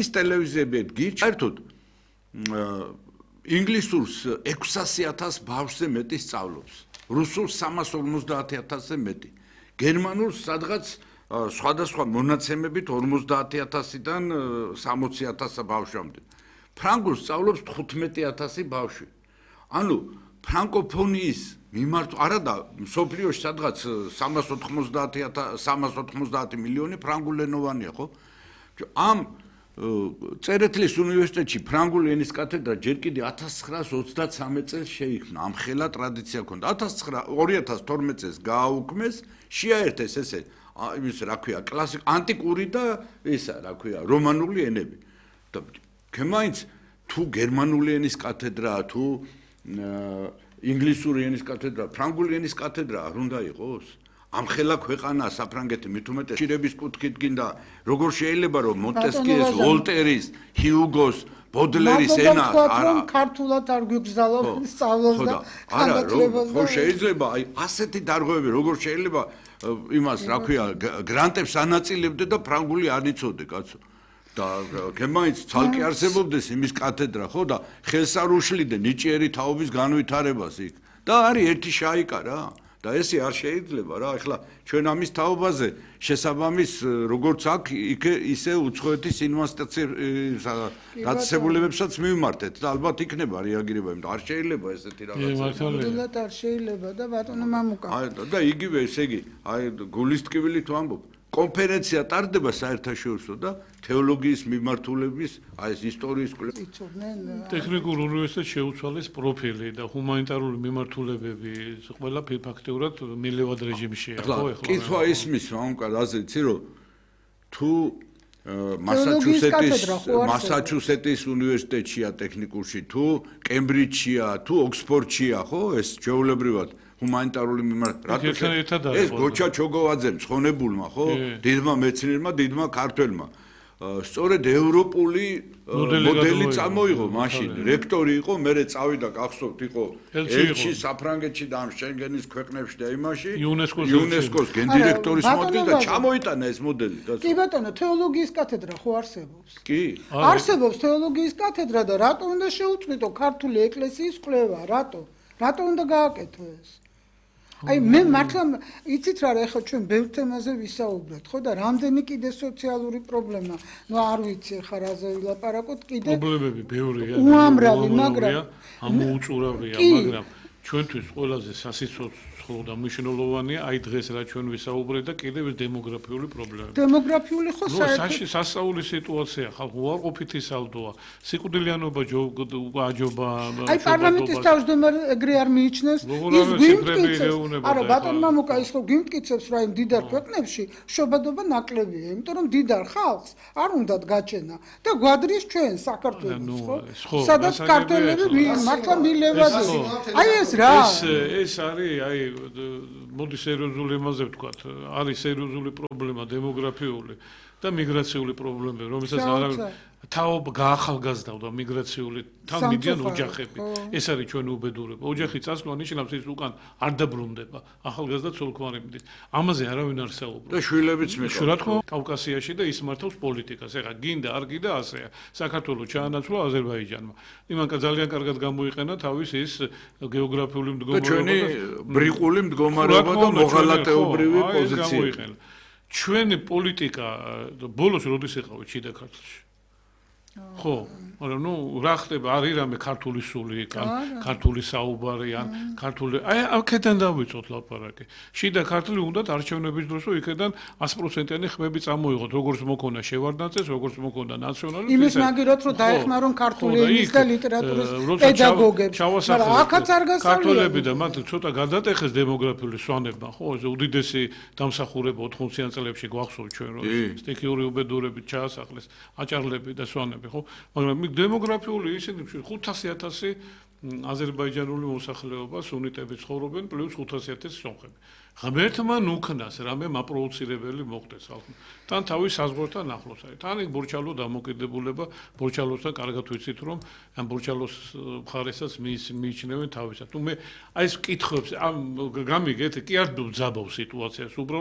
ის ტელევიზიები გიჩერდოთ ინგლისურს 600,000 ბავშვზე მეტი სწავლობს, რუსულს 350,000-ზე მეტი, გერმანულს სადღაც სხვადასხვა მონაცემებით 50,000-დან 60,000 ბავშვამდე. ფრანგულს სწავლობს 15,000 ბავშვი. ანუ ფრანკოფონიის მიმართ არადა მსოფლიოში სადღაც 390 მილიონი ფრანგულენოვანია, ხო? ამ წერეთლის უნივერსიტეტში ფრანგული ენის კათედრა ჯერ კიდე 1933 წელს შეიქმნა, ამ ხელა ტრადიცია ჰქონდა. 2012 წელს გააუქმეს, შეაერთეს ესე იმის რა ქვია, ანტიკური და ისა, რა ქვია, რომანული ენები. და მაინც თუ გერმანული ენის კათედრა, თუ ინგლისური ენის კათედრა, ფრანგული ენის კათედრა არ უნდა იყოს? ამ ხელა ქვეყანა საფრანგეთი მით უმეტეს შირების კუთხით გინდა როგორ შეიძლება რომ მონტესკიეს, ვოლტერის, ჰიუგოს, ბოდლერის ენა არა ქართულად არ გვიგზავნო სწავლობს და ხანდახან ხო შეიძლება აი ასეთი დარღვევები როგორ შეიძლება იმას რა ქვია გრანტებს ანაწილებდე და ფრანგული არ იცოდე კაცო და გემაინც ცალკე არსებობდეს იმის კათედრა ხო და ხელს არ უშლიდე ნიჭიერი თაობის განვითარებას იქ და არის ერთი შაიკა რა და ესე არ შეიძლება რა ეხლა ჩვენ ამის თაობაზე შესაბამის როგორც აქ ისე უცხოეთის ინვესტიციებებსაც მივმართეთ და ალბათ იქნება რეაგირება იმიტომ არ შეიძლება ესეთი რაღაცა ნამდვილად არ შეიძლება და ბატონო მამუკა და იგივე ესე იგი აი გულის ტკივილით ვამბობ კონფერენცია ტარდება საერთაშორისო და თეოლოგიის მიმართულების აი ეს ისტორიის ტექნიკურ უნივერსიტეტში შეუცვალეს პროფილი და ჰუმანიტარული მიმართულებები ყველა ფაქტიურად მილევად რეჟიმშია ხო ეხლა კითხვა ისმის მამუკა რაზე იცი რომ თუ მასაჩუსეტის უნივერსიტეტშია ტექნიკურში თუ კემბრიჯშია თუ ოქსფორდშია ხო ეს ჩვეულებრივად ჰუმანიტარული მიმართულება ეს გოჩა ჩოგოვაძემ ცხონებულმა ხო დიდმა მეცნიერმა დიდმა ქართველმა სწორედ ევროპული მოდელი წამოიღო მაშინ რექტორი იყო მერე წავიდა გახსოვთ იყო ელჩი საფრანგეთში და ამ შენგენის ქვეყნებში და იმაში იუნესკოს გენდირექტორის მოადგილე და ჩამოიტანა ეს მოდელი კი ბატონო თეოლოგიის კათედრა ხო არსებობს კი არსებობს თეოლოგიის კათედრა და რატო უნდა შეუწყვიტო ქართული ეკლესიის კვლევა რატო უნდა გააკეთო ეს აი მე მართლა იცით რა ეხლა ჩვენ ბევრ თემაზე ვისაუბრეთ ხო და რამდენი კიდე სოციალური პრობლემა ნუ არ ვიცი ხა რაზე ვილაპარაკოთ კიდე პრობლემები ბევრია უამრავი მაგრამ ამოუწურავია მაგრამ ჩვენთვის ყველაზე სასიცოცხლო და მნიშვნელოვანია აი დღეს რა ჩვენ ვისაუბრეთ და კიდევ დემოგრაფიული პრობლემები დემოგრაფიული ხო საერთოდ სასწაულის სიტუაცია ხალხი უარყოფითი სალდოა სიკვდილიანობა აჯობა აი პარლამენტის თავმჯდომარე ეგრე არ მიიჩნევს ის გვიმტკიცებს არა ბატონ მამუკა ის ხო გვიმტკიცებს რა იმ დიდარ ქვეყნებში შობადობა ნაკლებია იმიტომ რომ დიდარ ხალხს არ უნდათ გაჩენა და გვადრის ჩვენ საქართველოს ხო სადაც ქართველები მართლა მილევადი აი ეს რა ეს არის აი მოდი სერიოზული იმაზე ვთქვათ არის სერიოზული პრობლემა დემოგრაფიული და მიგრაციული პრობლემები რომელსაც თაობა გაახალგაზრდა მიგრაციული თან მიდიან ოჯახები ეს არის ჩვენი უბედურება ოჯახი წასვლა ნიშნავს ის უკან არ დაბრუნდება ახალგაზრდა ცოლ-ქმარი მიდის ამაზე არავინ არ საუბრობს და შვილებიც მიყავს რა თქმა უნდა კავკასიაში და ის მართავს პოლიტიკას ეხლა გინდა არ გინდა ასეა საქართველოს ჩაანაცვლა აზერბაიჯანმა იმანკა ძალიან კარგად გამოიყენა თავის ის გეოგრაფიული მდგომარეობა და ჩვენი ბრიყული მდგომარეობა და მოღალატეობრივი პოზიცია ჩვენი პოლიტიკა ბოლოს როდის ეხავით შიდა ქართლში ხო მაგრამ ნუ რა ხდება არის რამე ქართული სული ქართული საუბარი ან ქართული აი აქედან დავიწყოთ ლაპარაკი შიდა ქართლი უნდათ არჩევნების დროს რომ იქედან 100%-იანი ხმები წამოიღოთ როგორც მოკონა შევარდნაძეს როგორც მოკონა ნაციონალურ იმის მაგიროთ რომ დაეხმარონ ქართული ენის და ლიტერატურის პედაგოგებს მაგრამ აქაც არ გასავლია ქართველები და მათ ცოტა გადატეხეს დემოგრაფიული სვანებმა ხო ეს უდიდესი დამსახურება 80-იან წლებში გვახსოვთ ჩვენ რომ სტიქიური უბედურებით ჩაასახლეს აჭარლები და სვანები ხო მაგრამ დემოგრაფიული ისინი 500,000 აზერბაიჯანული მოსახლეობა სუნიტები ცხოვრობენ პლუს 500,000 სომხები. ღმერთმა ნუქნას რამე მაპროვოცირებელი მოხდეს ხალხმა. თან თავის საზღვართან ახლოს არის. თან იქ ბორჩალო დამოკიდებულება ბორჩალოსთან კარგად ვიცით რომ ამ ბორჩალოს მხარესაც მიიჩნევენ თავისად. თუ მე აი ეს კითხებს ამ გამიგეთ კი არ ძაბავ სიტუაციას უბრალოდ